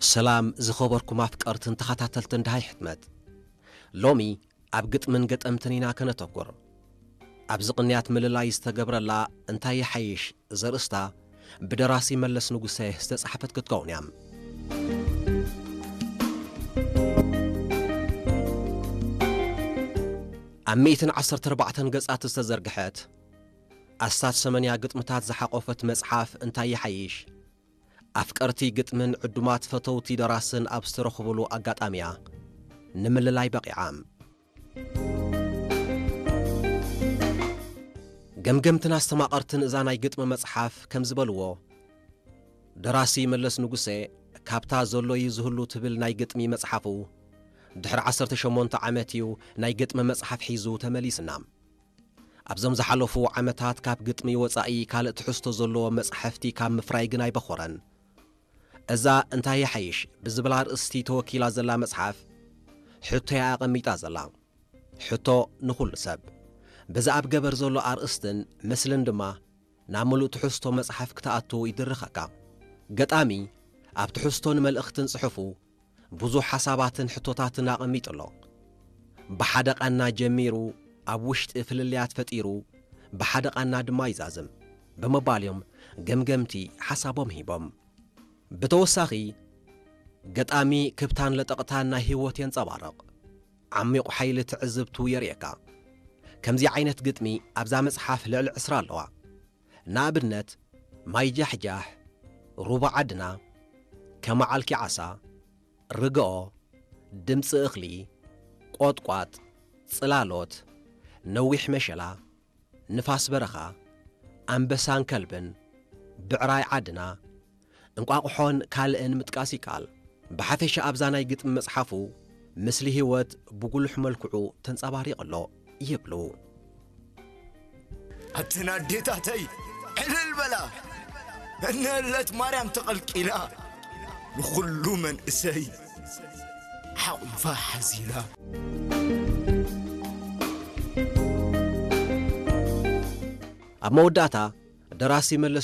ሰላም ዝኸበርኩም ኣፍቀርትን ተኸታተልትን ደሃይ ሕትመት። ሎሚ ኣብ ግጥምን ገጠምትን ኢና ከነተኩር። ኣብዚ ቅንያት ምልላይ ዝተገብረላ እንታይ ይሓይሽ ዘርእስታ ብደራሲ መለስ ንጉሰ ዝተጻሕፈት ክትከውን እያ። ኣብ ሚእትን ዓሰርተ ኣርባዕተን ገጻት ዝተዘርግሐት ኣስታት ሰማንያ ግጥምታት ዝሓቆፈት መጽሓፍ እንታይ ይሓይሽ፣ ኣፍቀርቲ ግጥምን ዕዱማት ፈተውቲ ደራስን ኣብ ዝተረኽቡሉ ኣጋጣሚያ ንምልላይ በቒዓ። ገምገምትን ኣስተማቐርትን እዛ ናይ ግጥሚ መጽሓፍ ከም ዝበልዎ፣ ደራሲ መለስ ንጉሴ ካብታ ዘሎዩ ዝህሉ ትብል ናይ ግጥሚ መጽሓፉ ድሕሪ ዓሰርተ ሸሞንተ ዓመት እዩ ናይ ግጥሚ መጽሓፍ ሒዙ ተመሊስና። ኣብዞም ዝሓለፉ ዓመታት ካብ ግጥሚ ወጻኢ ካልእ ትሕዝቶ ዘለዎ መጻሕፍቲ ካብ ምፍራይ ግን ኣይበኾረን። እዛ እንታይ ይሓይሽ ብዝብል ኣርእስቲ ተወኪላ ዘላ መጽሓፍ፣ ሕቶያ ኣቐሚጣ ዘላ። ሕቶ ንኹሉ ሰብ። በዚ ኣብ ገበር ዘሎ ኣርእስትን ምስልን ድማ ናብ ምሉእ ትሕዝቶ መጽሓፍ ክትኣቱ ይድርኸካ። ገጣሚ ኣብ ትሕዝቶን መልእኽትን ጽሑፉ ብዙሕ ሓሳባትን ሕቶታትን ኣቐሚጡ ኣሎ። ብሓደ ቃና ጀሚሩ ኣብ ውሽጢ ፍልልያት ፈጢሩ ብሓደ ቃና ድማ ይዛዝም ብምባል እዮም ገምገምቲ ሓሳቦም ሂቦም። ብተወሳኺ ገጣሚ ክብታን ለጠቕታን ናይ ህይወት የንጸባርቕ። ዓሚቑ ሓይሊ ትዕዝብቱ የርእየካ። ከምዚ ዓይነት ግጥሚ ኣብዛ መጽሓፍ ልዕሊ ዕስራ ኣለዋ። ንኣብነት ማይ ጃሕጃሕ፣ ሩባ ዓድና፣ ከመዓልኪ ዓሳ፣ ርግኦ፣ ድምጺ እኽሊ፣ ቆጥቋጥ፣ ጽላሎት፣ ነዊሕ መሸላ፣ ንፋስ በረኻ፣ ኣንበሳን ከልብን፣ ብዕራይ ዓድና፣ እንቋቑሖን ካልእን ምጥቃስ ይከኣል። ብሓፈሻ ኣብዛ ናይ ግጥሚ መጽሓፉ ምስሊ ህይወት ብጉሉሕ መልክዑ ተንጸባሪቑ ኣሎ ይብሉ። ኣተን ኣዴታተይ ዕልል በላ፣ እነለት ማርያም ተቐልቂላ፣ ንኹሉ መንእሰይ ሓቑፋ ሓዚላ። ኣብ መወዳእታ ደራሲ መለስ